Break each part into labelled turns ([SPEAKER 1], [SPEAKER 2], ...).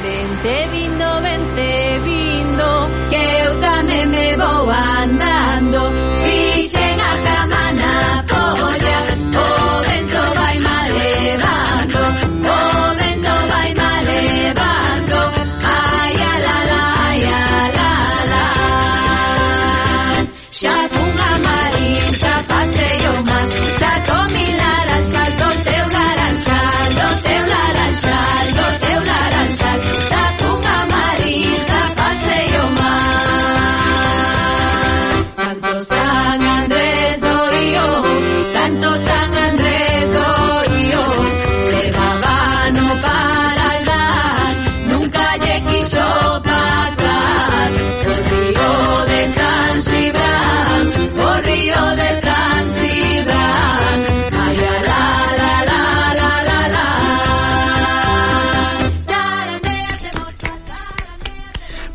[SPEAKER 1] Vente vindo, que eu tamén me vou andando. Fixen a cama na polla, o vento vai mal levando, o vento vai mal levando. Ai, a la la, ai, a la la. Xa cunha marisa pasei o mar, xa comi laranxal do teu laranxal, do teu laranxal, do teu laranxal. Xa cunha marisa pasei o mar. Santo San Andrés do Io, Santo San Andrés do Io, levabano para andar, nunca lle quixo pasar. O río de San Cibrán, o río de San Cibrán. Ay, a la la la la la la.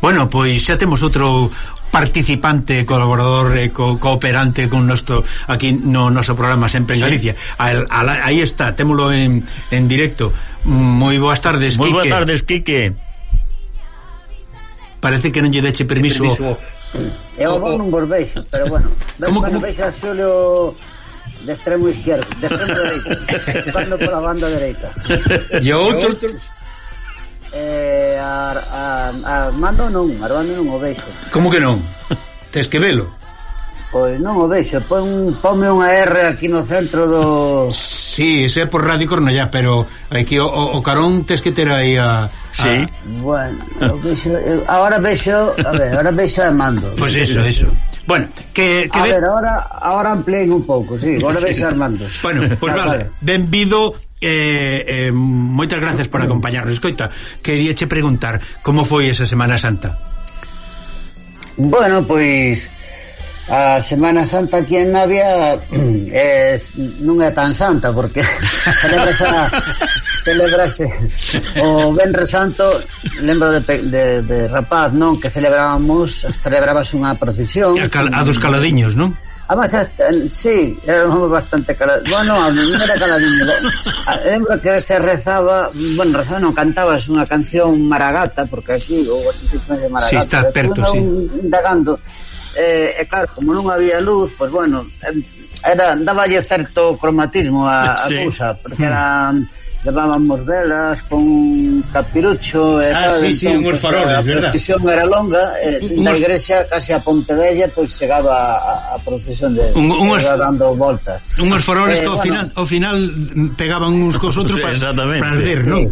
[SPEAKER 2] Bueno, pois xa temos outro participante, colaborador e cooperante con nosto aquí no noso programa Sempre en Galicia. Aí está, témolo en directo. Moi boas tardes, Quique.
[SPEAKER 3] Moi boas tardes, Quique.
[SPEAKER 2] Parece que non lle deche permiso.
[SPEAKER 4] Eu non vos veixo, pero bueno, veixo a Xulio de extremo izquierdo, de extremo dereito, jugando pola banda dereita.
[SPEAKER 2] E outro?
[SPEAKER 4] Armando non o veixo.
[SPEAKER 2] Como que non? Tes que velo?
[SPEAKER 4] Pois non o veixo, ponme unha R aquí no centro do...
[SPEAKER 2] Sí, iso é por Radio Cornellá, pero aquí o carón tes que ter aí a...
[SPEAKER 3] Sí.
[SPEAKER 4] Bueno, ahora vexo a Armando.
[SPEAKER 2] Pois eso. Bueno,
[SPEAKER 4] a ver, ahora amplíen un pouco, sí, agora vexo a Armando.
[SPEAKER 2] Bueno, pois vale, benvido, moitas gracias por acompañarnos. Escoita, queríache preguntar como foi esa Semana Santa.
[SPEAKER 4] Bueno, pois a Semana Santa aquí en Navia non é tan santa porque celebrase o Venres Santo. Lembro de rapaz, non, que celebrábase unha procesión
[SPEAKER 2] a dos caladiños, non?
[SPEAKER 4] Además, sí, era bastante caladiño. Bueno, non era caladiño. Lembro que se rezaba, bueno, non, cantabas unha canción maragata, porque aquí houve as institucións de maragata.
[SPEAKER 2] Sí, está perto, sí.
[SPEAKER 4] Indagando. E claro, como non había luz, pues bueno, dáballe certo cromatismo a cousa, porque levábamos velas con capirucho e tal.
[SPEAKER 2] Sí, unhos faroles, verdad?
[SPEAKER 4] A procesión era longa, na igrexa case a Pontevella, pois chegaba a procesión de dando voltas.
[SPEAKER 2] Unhos faroles que ao final pegaban uns cos outros para arder, non?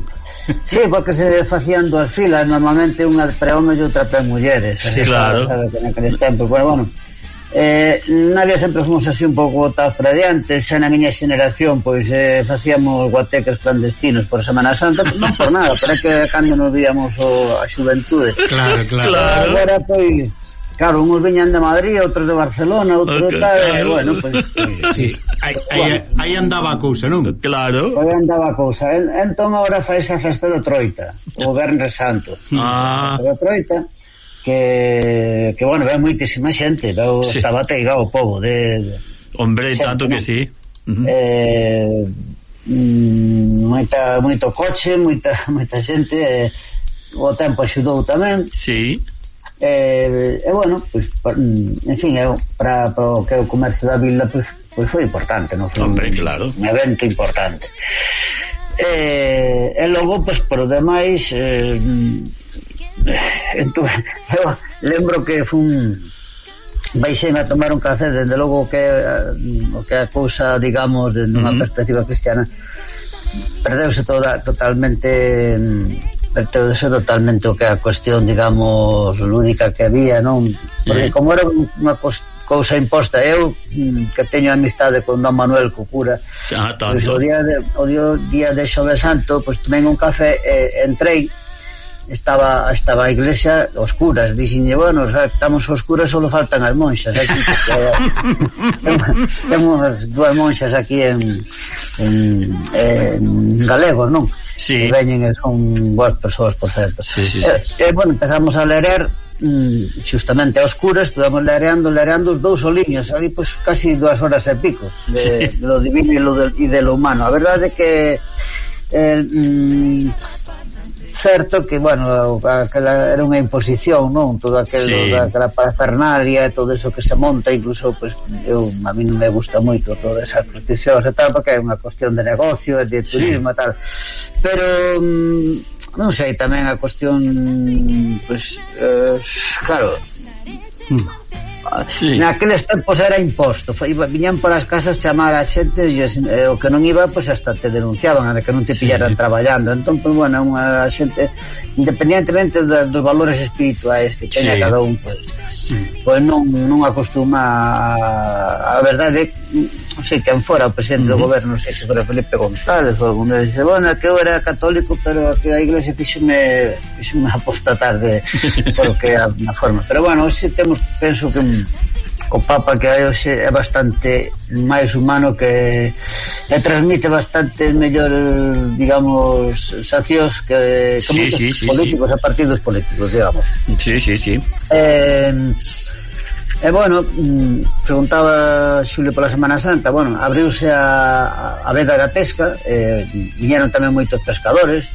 [SPEAKER 4] Sí, porque se facían dúas filas, normalmente unha pre homes e outra pre mulleres.
[SPEAKER 3] Sí, claro.
[SPEAKER 4] Naqueles tempos, bueno, Navia sempre fomos así un pouco botados para diante. Xa na miña xeneración pois facíamos guateques clandestinos por Semana Santa, non por nada, pero é que cando nos víamos a xuventude.
[SPEAKER 2] Claro.
[SPEAKER 4] Agora pois claro, uns viñan de Madrid, outros de Barcelona, outros tal, bueno, pois
[SPEAKER 2] sí, aí andaba a cousa, non?
[SPEAKER 3] Claro.
[SPEAKER 4] Aí andaba a cousa. Entón agora fai esa festa da Troita, o Venres Santo. Da Troita, que bueno, ve moitísima xente, estaba ateigado o pobo de
[SPEAKER 3] hombre, xente, tanto que sí.
[SPEAKER 4] Moito coche, moita xente, o tempo axudou tamén.
[SPEAKER 3] Sí.
[SPEAKER 4] Bueno, pues, en fin, para o que é o comercio da vila, pues foi importante, non? Foi un evento importante. E logo, pues, por o demais, eu lembro que baixei a tomar un café, desde logo o que é a cousa, digamos, de unha perspectiva cristiana, perdeuse totalmente o que é a cuestión, digamos, lúdica que había, non? Porque como era unha cousa imposta, eu que teño amistade con Don Manuel, co cura, pois o día de Xoves Santo, pois tomei un café, entrei, estaba a iglesia oscuras, dixenlle, bueno, estamos oscuras, só faltan as monxas aquí, temos dúas monxas aquí en galego, non?
[SPEAKER 3] Sí.
[SPEAKER 4] Que veñen e son boas persoas, por certo. Bueno, empezamos a leer justamente a oscuras, estudamos lereando os dous soliños, ali pois casi 2 horas e pico de lo divino e de lo humano. A verdade é que certo que, bueno, aquela era unha imposición, non? Todo aquela parafernalia e todo eso que se monta, incluso, pues, a mí non me gusta moito todas esas procesións e tal, porque é unha cuestión de negocio e de turismo e tal, pero non sei, tamén a cuestión, pues, claro, naqueles tempos era imposto, viñan por as casas chamar a xente e o que non iba, pues hasta te denunciaban a que non te pillaran traballando. Entón, pues bueno, unha xente, independientemente dos valores espirituais que teña cada un, pues non acostuma a verdade. Non sei quen fora o presidente do goberno, non sei se fora Felipe González ou algún deles, dice, bueno, que eu era católico, pero que a iglesia fíxeme apostatar porque na forma. Pero bueno, hoxe penso que o Papa que hai hoxe é bastante máis humano, que transmite bastante mellor, digamos, sacios que moitos políticos e partidos políticos, digamos.
[SPEAKER 3] Sí.
[SPEAKER 4] Bueno, preguntaba Xulio pola Semana Santa, bueno, abriuse a veda da pesca, viñeron tamén moitos pescadores,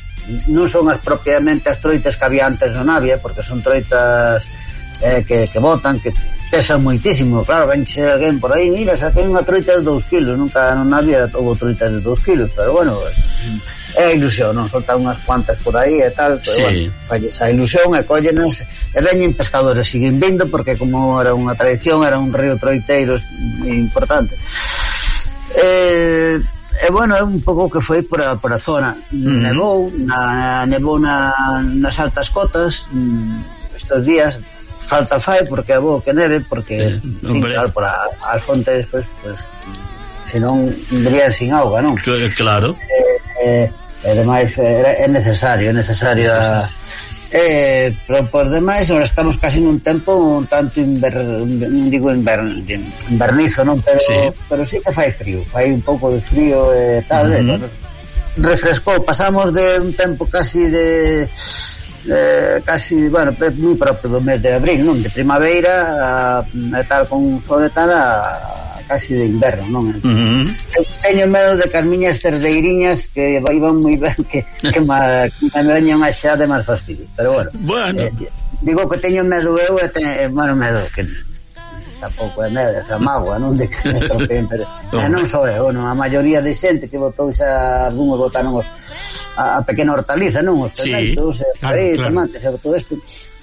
[SPEAKER 4] non son as propiamente as troitas que había antes no Navia, porque son troitas que botan, que pesan moitísimo, claro, venche alguén por aí, mira, saquei unha troita de 2 kilos, nunca non había houve troitas de 2 kilos, pero bueno, é a ilusión, non? Soltan unhas cuantas por aí e tal, pero bueno, falles a ilusión e collenas e veñen pescadores, siguen vindo porque como era unha tradición, era un río troiteiro importante. E bueno, é un pouco que foi por a zona. Nevou nas altas cotas estes días, falta fai porque é bo que neve, porque claro, por as fontes pues senón vendrían sin auga, non?
[SPEAKER 3] Claro.
[SPEAKER 4] E demais é necesario pero por demais ahora estamos casi nun tempo un tanto invernizo, non? Pero sí que fai frío, fai un pouco de frío e tal, refrescou, pasamos de un tempo casi bueno, moi propio do mes de abril, non? De primavera e tal, con sol e tal, a casi de inverno, non? Teño medo de que as miñas cerdeiriñas que iban moi ben que me veñan a xa de máis fastidio, pero bueno. Digo que teño medo eu bueno, medo que tampouco é medo, esa mágoa, non? De que se me estropeen, pero non só eu, non? A maioría de xente que votou algúns votaron a pequena hortaliza, non? Os pimentos, tomates e todo isto,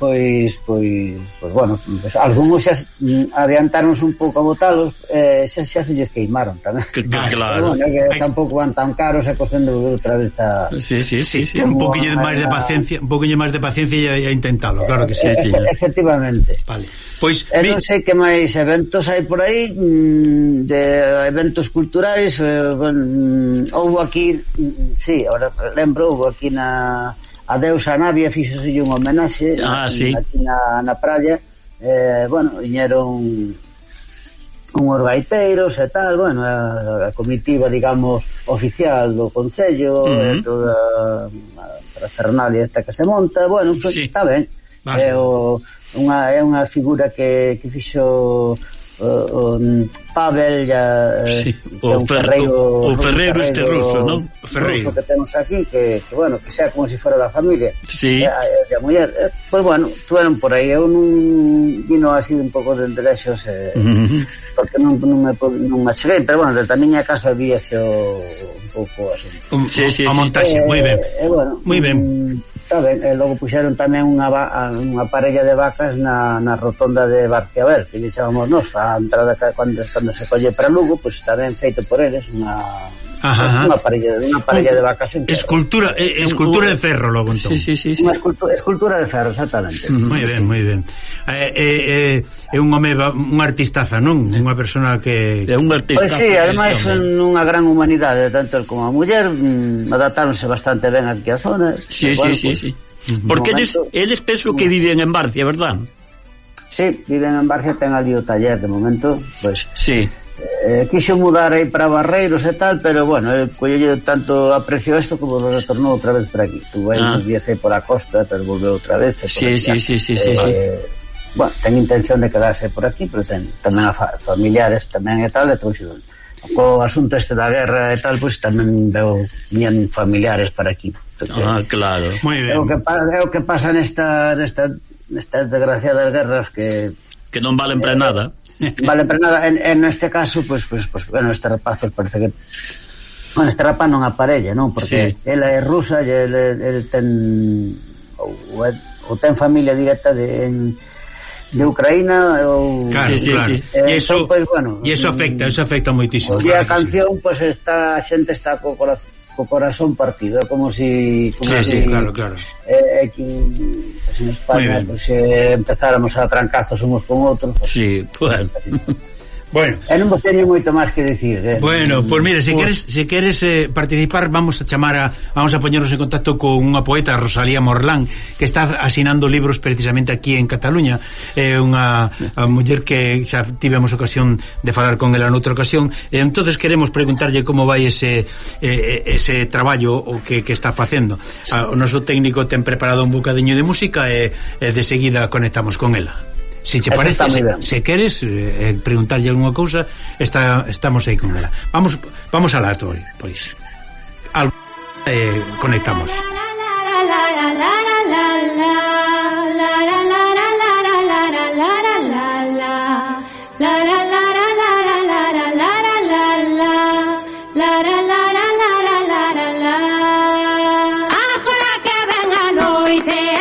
[SPEAKER 4] pois bueno, pues, algúns xa adiantaronse un pouco a votalos, xa se lles queimaron tamén.
[SPEAKER 3] Claro.
[SPEAKER 4] Bueno, que tampouco van tan caros e cosendo outra vez a...
[SPEAKER 2] Sí. Un poquinho máis de paciencia e a intentalo, claro que sí.
[SPEAKER 4] Efectivamente.
[SPEAKER 2] Vale. Pois
[SPEAKER 4] non sei que máis eventos hai por aí, de eventos culturais, houve aquí, sí, ahora lembro, houve aquí a deusa Navia, fixose un homenaxe aquí na praia, bueno, viñeron unhos gaiteiros e tal, bueno, a comitiva, digamos, oficial do Concello, toda a parafernalia esta que se monta, bueno, pues, está ben, é unha figura que fixo Pavel
[SPEAKER 3] o ferreiro este ruso, non?
[SPEAKER 4] O ferreiro que temos aquí, que bueno, que sea como se fora da familia, a muller, pois bueno, tuveron por aí, eu non vino así un pouco de enderexos, porque non me cheguei, pero bueno, desde a miña casa víase un pouco así
[SPEAKER 2] a montaxe, moi ben, moi ben.
[SPEAKER 4] E logo puxeron tamén unha parella de vacas na rotonda de Barciabel, que lle chamamos nos a entrada cando se colle para Lugo, pois tamén feito por eles unha parella de vacas en
[SPEAKER 2] escultura de ferro logo entón.
[SPEAKER 4] Unha escultura de ferro, exactamente.
[SPEAKER 2] Moi ben. É un home, un artistaza, non? Unha persona que
[SPEAKER 3] é un artista.
[SPEAKER 4] Pois si, ademais unha gran humanidade, tanto el como a muller, adaptáronse bastante ben aquí a zona.
[SPEAKER 3] Sí. Porque eles penso que viven en Barcia, verdad?
[SPEAKER 4] Sí, viven en Barcia, ten ali o taller de momento, pois.
[SPEAKER 3] Sí.
[SPEAKER 4] Quixo mudar aí para Barreiros e tal, pero bueno, collelle tanto aprecio isto como retornou outra vez por aquí. Tuve uns días aí pola costa, pero volveu outra vez.
[SPEAKER 3] Sí.
[SPEAKER 4] Bueno, ten intención de quedarse por aquí, pero ten tamén a familiares tamén e tal, e trouxe co asunto este da guerra e tal, pois tamén veo familiares para aquí.
[SPEAKER 3] Claro.
[SPEAKER 2] Muy
[SPEAKER 4] É
[SPEAKER 2] ben.
[SPEAKER 4] o que pasa nestas desgraciadas guerras que
[SPEAKER 3] non valen para nada.
[SPEAKER 4] vale para nada. En este caso, pues, bueno, este rapaz parece que... Bueno, este rapaz non aparella, non? Porque ela é rusa e ele ten... ou ten familia directa de Ucraína ou...
[SPEAKER 2] Claro, claro. E iso,
[SPEAKER 4] pues, bueno,
[SPEAKER 2] eso afecta moitísimo.
[SPEAKER 4] E a canción, pues, a xente está co corazón partido, como si
[SPEAKER 2] claro.
[SPEAKER 4] Pues en España, pues, empezáramos a trancazos unos con outros, pues,
[SPEAKER 3] bueno.
[SPEAKER 2] Bueno,
[SPEAKER 4] e non vos teño moito máis que dicir.
[SPEAKER 2] Bueno, pues mira, se queres participar, vamos a poñernos en contacto con unha poeta, Rosalía Morlán, que está asinando libros precisamente aquí en Cataluña. É unha muller que xa tivemos ocasión de falar con ela noutra ocasión. Entonces queremos preguntarlle como vai ese traballo o que está facendo. O noso técnico ten preparado un bocadiño de música e de seguida conectamos con ela. Si te parece, se queres preguntarlle alguna cousa, estamos aí con ela. Vamos alá, pois. Conectamos.
[SPEAKER 1] Agora que ven a noite